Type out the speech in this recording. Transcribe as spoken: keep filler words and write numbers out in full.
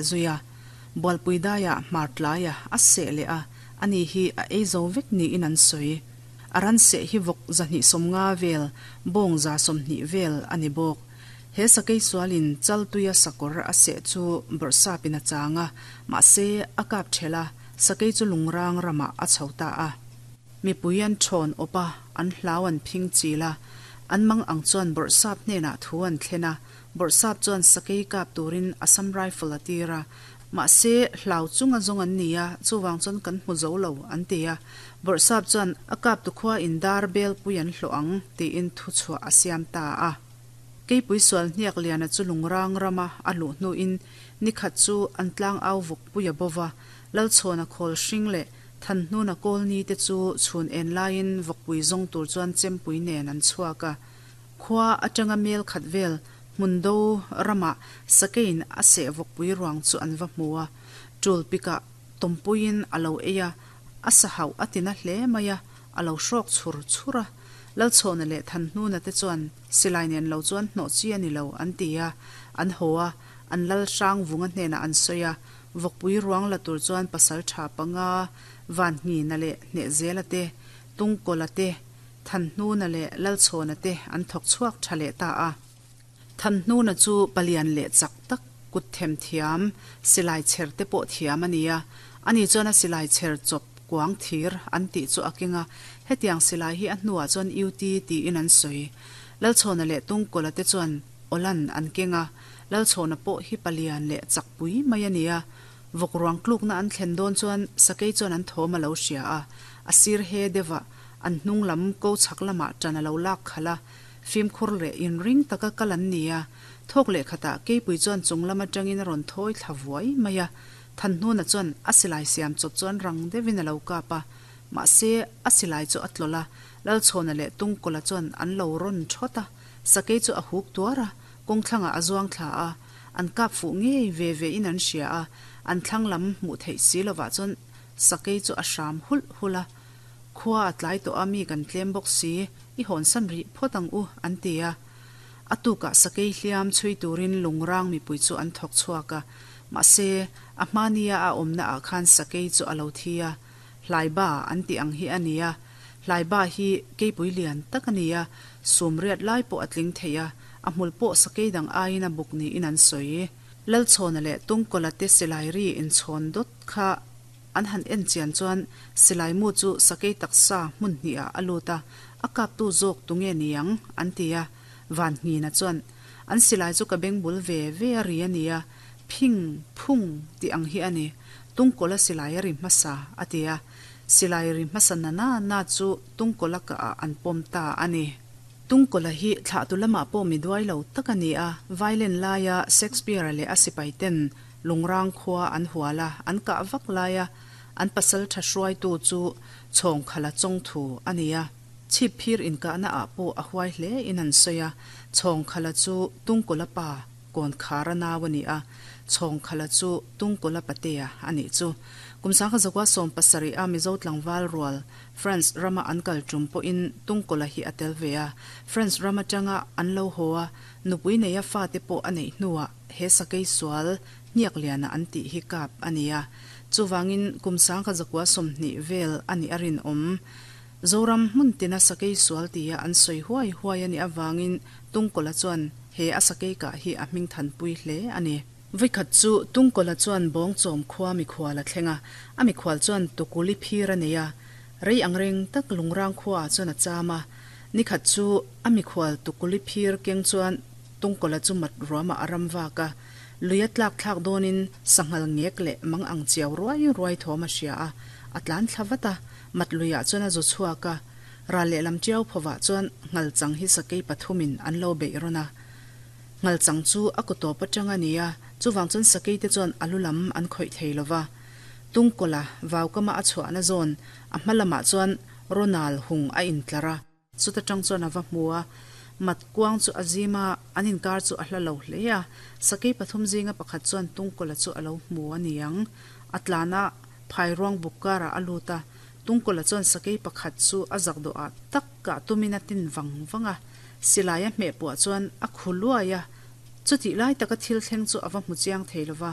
zui a. Bualpui daiah hmar tlaiah a seh leh a, ani hi a ei zo vek niin an sawi. A ran seh hi vawk zahnih sawmnga vel, bawng za sawmhnih vel a ni bawk. He sakei sualin Chaltuia sakawr a seh chu bawrhsapin a chang a, mahse a kap ṭhelh a, sakei chu lungrang ramah a chho ta a. Mipui an ṭhawn awp a, an hlau an phing chil a, an mang ang chuan bawrhsap hnenah thu an thlen a, bawrhsap chuan sakei kap turin Assam Rifle a tir a, mahse hlau chunga zawng an ni a, chuvang chuan kan hmu zo lo an ti a, bawrhsap chuan a kap tu khua in dar belpui an hlawh ang tiin thuchhuah a siam ta a. Keipui sual hniak liana chu lungrang rama a luh hnuin nikhat chu an tlang au vawkpui a bo va, Lalchhawna khawl hring leh Thanhnuna kawlni te chu chhun en laiin vawkpui zawng tur chuan chempui nen an chhuak a. Khua atanga mel khat vel hmun do ramah sakeiin a seh vawkpui ruang chu an va hmu a. Tul pikah tawmpuiin a lo ei a, a sa hauh a tina hle mai a, a lo hrawk chhur chhur a. Lalchhawna leh Thanhnuna te chuan silai nen lo chuan hnawh chi a ni lo an ti a, an haw a, an lal hrang vunga hnenah an sawi a, vawkpui ruang la tur chuan pasal tha panga Vanhnina leh Hnehzela te, Tungkawla te, Thanhnuna leh Lalchhawna te an thawk chhuak tha leh ta a. Thanhnuna chu palian leh chak tak kut them thiam, silai chher te pawh thiam a ni a, ani chuan a silai chher chawp kuang thir an tih chu a keng a, hetiang silai hi a hnuah chuan U T tiin an sawi. Lalchhawna leh Tungkawla te chuan Awlan an keng a, Lalchhawna pawh hi palian leh chak pui mai a ni a, vawk ruang tlukna an thlen dawn chuan sakei chuan an thawm a lo hria a, a sir he deuhah an hnung lam ko chhak lamah ṭan a lo lak khalh a, fimkhur leh inring taka kal an ni a, thawk leh khatah keipui chuan chung lam aṭangin a rawn thawi thla vuai mai a, Thanhnuna chuan a silai siam chawp chuan rang deuhin a lo kap a, mahse a silai chu a tlawlh a, Lalchhawna leh Tungkawla chuan an lo rawn ṭhawt a, sakei chu a huk tuar a, kawngthlangah a zuang thla a, an kap fuh ngei ve ve in an hria a, an thlang lam hmuh theih si lovah chuan sakei chu a hram hulh hulh a, khua a tlai tawh a mi kan tlem bawk si, i hawnsan rih phawt ang u an ti a. A tukah sakei hliam chhui turin lungrang mipui chu an thawk chhuak a, mahse a hmania a awmna ah khan sakei chu a lo thi a, hlaiba an tih ang hi a ni a, hlaiba hi keipui lian tak a ni a, sum riat lai pawh a tling thei a, a hmul pawh sakei dang aiin a buk niin an sawi. Lalchhawna leh Tungkawla te silai ri inchhawn dawt kha an han en chian chuan silai mu chu sakei taksa hmun hnihah a lut a, a kaptu zawk tunge niang an ti a, Vanhnina chuan an silai chu ka beng bul ve ve a ri a nia, phing phung tih ang hi a ni, Tungkawla silai a ri hmasa a ti a, silai ri hmasa na na na chu Tungkawla kahah an pawm ta a ni. Tungkawla hi thlahtu lamah pawh mi duai lo tak a ni a, violin laia Shakespeare-a leh a sipaiten lungrang khua an hual a, an kah vak laia an pasal tha hruaitu chu Chhawngkhala chawngthu a ni a. Chhip phir inkahna ah pawh a huai hle in an sawi a, Chhawngkhala chu Tungkawla pa Kawnkhara nau a ni a, Chhawngkhala chu Tungkawla patea a nih chu. Kum sangkhat zakua sawm pasarih a Mizo tlangval rual France rama an kal tum pawhin Tungkawla hi a tel ve a, France ram atanga an lo haw a, nupui neia fate pawh a neih hnuah he sakei sual hniak liana an tih hi kap a ni a, chuvangin kum sangkhat zakua sawmhnih vel a nih a rinawm. Zoram hmun tina sakei sual tia an sawi huai huai a nih avangin Tungkawla chuan he a sakei kah hi a hming thanpui hle a ni. Vawikhat chu Tungkawla chuan Bawngchawm khua mikhual a thleng a, a mikhual chuan tukuli phir a nei a, rei angreng tak lungrang khuaah chuan a cham a. Nikhat chu a mikhual tukuli phir keng chuan Tungkawla chu mat ruamah a ram vak a, lui a tlak thlak dawnin sanghal ngek leh mang ang chiau ruai ruai thawm a hria a, a tlan thla vat a, mat luiah chuan a zu chhuak a, ral lehlam tiau phovah chuan nghal chang hi sakei pathumin an lo beih rawn a. Nghal chang chu a kaw tawp atang a ni a, chuvang chuan sakei te chuan a lu lam an khawih thei lo va. Tungkawla vaukama a chhuahna zawn a hma lamah chuan Ronald hung a intlar a. Chuta tang chuan a va hmu a, mat kuang chu a zim a, an inkar chu a hla lo hle a. Sakei pathum zinga pakhat chuan Tungkawla chu a lo hmu a ni ang. A tlan a, phairuang buk karah a lut a. Tungkawla chuan sakei pakhat chu a zak dawhah tak kah tumin a tin vang vang a. Silai a hmeh puah chuan a khu luai a, chutih lai taka thil thleng chu a va hmu chiang thei lo va.